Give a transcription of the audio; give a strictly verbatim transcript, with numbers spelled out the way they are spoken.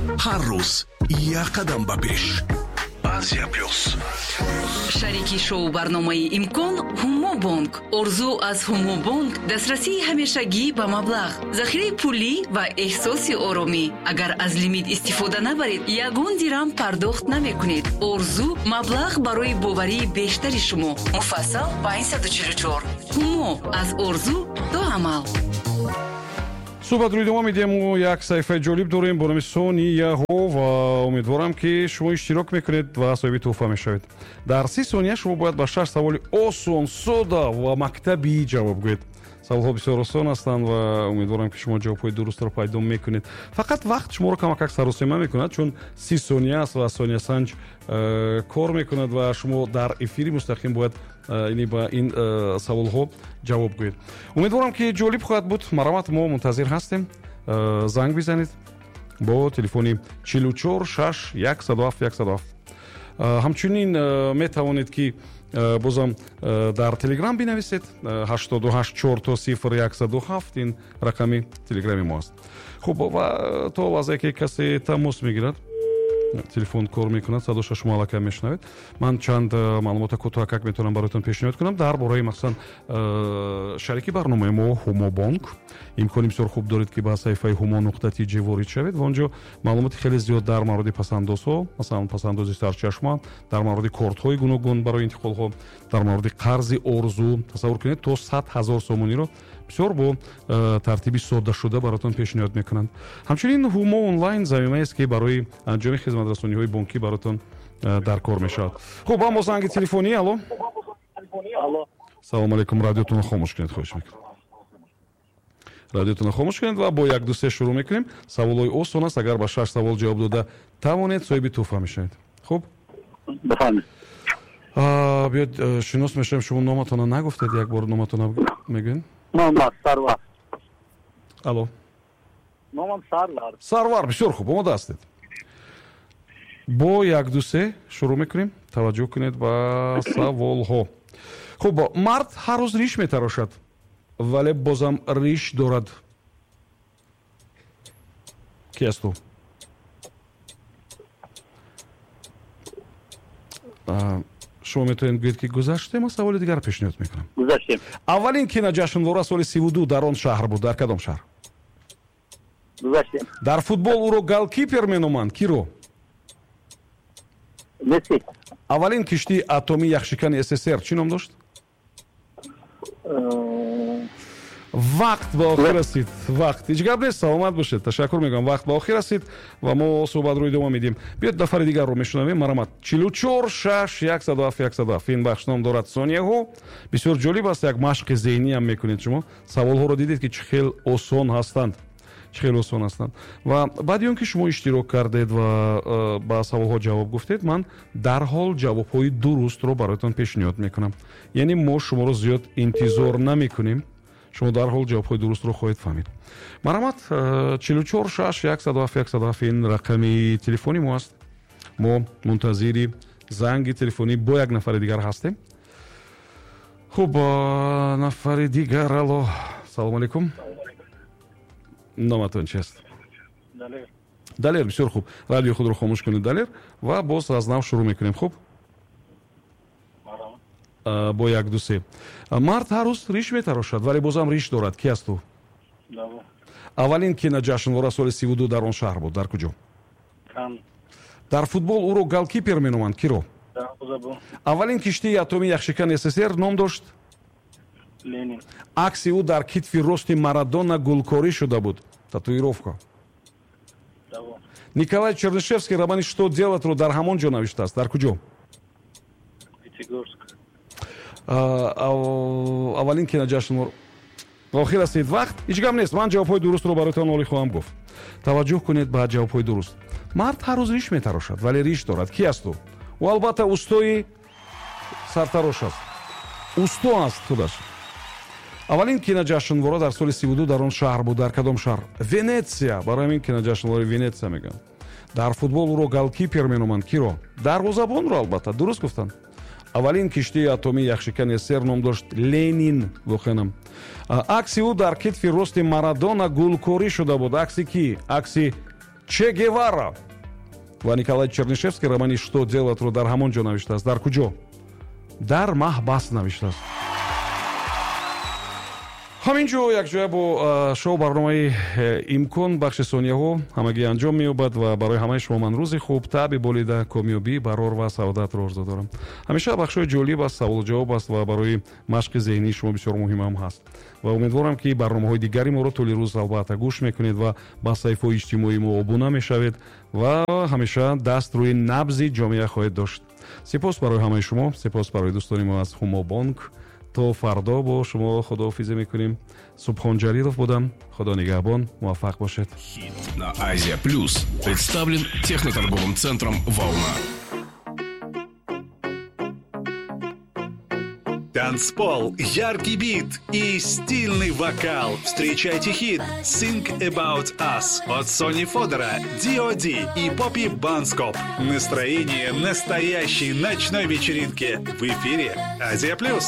Ҳар рӯз як қадам ба пеш. Азия Плюс. Шарики шоу барномаи «Имкон» Ҳумобонк. Орзу аз Ҳумобонк дастрасии ҳамешагӣ ба маблағ, захираи пулӣ ва эҳсоси оромӣ. Агар аз лимит истифода набаред, ягон дирам пардохт намекунед. Орзу маблағ барои боварии бештари шумо. Муфассал панҷсаду чилу чор. Ҳумо аз орзу то амал. Суҳбатро идома медиҳем. Мо як саҳифаи ҷолиб дорем бо номи Сонияҳо ва умедворам, ки шумо иштирок мекунед ва соҳиби тӯҳфа мешавед. Дар си сония шумо бояд ба шаш саволи осон, сода ва мактабӣ ҷавоб гӯед. Саволҳо бисёр осон ҳастанд ва умедворам, ки шумо ҷавобҳои дурустро пайдо мекунед. Фақат вақт шуморо камакак саросема мекунад, чун си сония аст ва сониясанҷ э, кор мекунад ва шумо дар эфири мустақим бояд э, ба ин э, саволҳо ҷавоб гӯед. Умедворам, ки ҷолиб хоҳад буд. Марҳамат, мо мунтазир ҳастем. Занг бизанед бо телефони чилу чор шаш яксаду ҳафт яксаду ҳафт. Ҳамчунин метавонед, ки бозам дар Телеграм бинависед, ҳаштоду ҳашт чор то сифр яксаду ҳафт, ин рақами Телеграми мо аст. Хуб, ва то лаҳзае ки касе тамос мегирад, телефон кор мекунад, садоша шумо аллакай мешунавед, ман чанд маълумота кӯтоҳакак метавонам бароятон пешниҳод кунам дар бораи, махсусан, шарики барномаи мо Ҳумобонк. Имкони бисёр хуб доред, ки ба саҳифаи ҳумо нуқта тиҷ ворид шавед ва онҷо маълумоти хеле зиёд дар мавриди пасандозҳо, масалан, пасандози сарчашма, дар мавриди кортҳои гуногун барои интиқолҳо, дар мавриди қарзи орзу, тасаввур кунед, то сад ҳазор сомониро бисёр бо тартиби соддашуда баротон пешниҳод мекунанд. Ҳамчунин Ҳумо онлайн замимаест, ки барои анҷоми хизматрасониҳои бонкӣ баротон дар кор мешавад. Хуб, аммо занги телефонӣ. Алло, салому алейкум. Радиотонро хомӯш кунед, хоҳиш мекунам. Радиотонро хомӯш кунед ва бо як, ду, се шурӯъ мекунем. Саволҳои осон аст. Агар ба шаш савол ҷавоб дода тавонед, соҳиби тӯҳфа мешавед. Хуб, биёед шинос мешавем. Шумо номатонро нагуфтед, як бор номатонро мегӯед. Номам Сарвар. Алло. Номам Сарвар. Сарвар, бисёр хуб, омода ҳастед. Бо як, ду, се шурӯъ мекунем. Таваҷҷӯҳ кунед ба саволҳо. Хуб, мард ҳар рӯз риш метарошад, вале бозам риш дорад. Ки аст ӯ? Шумо метавонед гӯед, ки гузаштем, саволи дигар пешниҳод мекунам. Гузаштем. Аввалин киноҷашнвора соли сиву ду дар он шаҳр буд. Дар кадом шаҳр? Гузаштем. Дар футбол ӯро голкипер меноманд. Киро? Месси. Аввалин киштии атомии яхшикани С С С Р чӣ ном дошт? Вақт ба охир расид. Вақт, ҳеҷ гап нест, саломат бошед, ташаккур мегӯям. Вақт ба охир расид ва мо суҳбатро идома медиҳем. Биёед, нафари дигарро мешунавем. Марҳамат, чилу чор шаш яксаду ҳафт яксаду ҳафт. Ин бахш ном дорад «Сонияҳо». Бисёр ҷолиб аст, як машқи зеҳнӣ ҳам мекунед шумо. Саволҳоро дидед, ки чӣ хел осон ҳастанд, чӣ хел осон ҳастанд. Ва баъди он ки шумо иштирок кардед ва э, ба саволҳо ҷавоб гуфтед, ман дарҳол ҷавобҳои дурустро бароятон пешниҳод мекунам. Яъне мо шуморо зиёд интизор намекунем, шумо дарҳол ҷавобҳои дурустро хоҳед фаҳмид. Марҳамат, э, чилу чор шаш яксаду ҳафт яксаду ҳафт, ин рақами телефони мо аст. Мо мунтазири занги телефонӣ бо як нафари дигар ҳастем. Хуб, э, нафари дигар. Алло, салому алейкум. Номатон чи аст? Далер. Бисёр хуб. Радиои худро хомӯш кунед, Далер, ва боз аз нав шурӯъ мекунем. Хуб, бо як, ду, се. Мард ҳар рӯз риш метарошад, вале бозам риш дорад. Ки аст ӯ? Аввалин киноҷашнвора соли сиву ду дар он шаҳр буд. Дар куҷо? Дар футбол ӯро голкипер меноманд. Киро? Аввалин киштии атомии яхшикани С С С Р ном дошт? Акси ӯ дар китфи рости Марадона гулкорӣ шуда буд, татуировка. Николай Чернышевский романи «Что делать» ро дар ҳамон ҷо навиштааст. Дар куҷо? Аввалин киноҷашнвор. Охир расид вақт. Ҳеҷ гап нест, ман ҷавобҳои дурустро бароятон олӣ хоҳам гуфт. Таваҷҷӯҳ кунед ба ҷавобҳои дуруст. Мард ҳар рӯз риш метарошад, вале риш дорад. Ки аст ӯ? Ӯ албатта устои сартарош аст, усто аст худаш. Аввалин киноҷашнвора дар соли сиву ду дар он шаҳр буд. Дар кадом шаҳр? Венетсия. Барои ҳамин киноҷашнвораи Венетсия мегӯянд. Дар футбол ӯро голкипер меноманд. Киро? Дарвозабонро, албатта, дуруст гуфтанд. Аввалин киштии атомии яхшикани С С С Р ном дошт Ленин. Воқеанам, акси ӯ дар китфи рости Марадона гулкорӣ шуда буд. Акси кӣ? Акси Че Гевара. Ва Николай Чернышевский романи «Что делать»-ро дар ҳамон ҷо навиштааст. Дар куҷо? Дар маҳбас навиштааст. Ҳамин ҷо якҷоя бо шоу барномаи э, «Имкон» бахши сонияҳо ҳамагӣ анҷом меёбад ва барои ҳамаи шумо ман рӯзи хуб, таъби болида, комёбӣ, барор ва саодатро орзу дорам. Ҳамеша бахшҳои ҷолиб аст, саволу ҷавоб аст ва барои машқи зеҳнии шумо бисёр муҳимам ҳаст. Ва умедворам, ки барномаҳои дигари моро тӯли рӯз албатта гӯш мекунед ва ба саҳифаҳои иҷтимоии мо обуна мешавед ва ҳамеша даст рӯи набзи ҷомеа хоҳед дошт. Сипос барои ҳамаи шумо, сипос барои дӯстони мо аз Ҳумобонк. То фардо бо шумо худоҳофизӣ мекунем. Субҳон Ҷалилов будам. Худо нигаҳбон, муваффақ бошед. На Азия Плюс представлен техноторговым центром «Волна». Танцпол, яркий бит и стильный вокал. Встречайте хит «Think About Us» от Сони Фодора, Ди О Ди и Поппи Банскоп. Настроение настоящей ночной вечеринки в эфире Азия Плюс.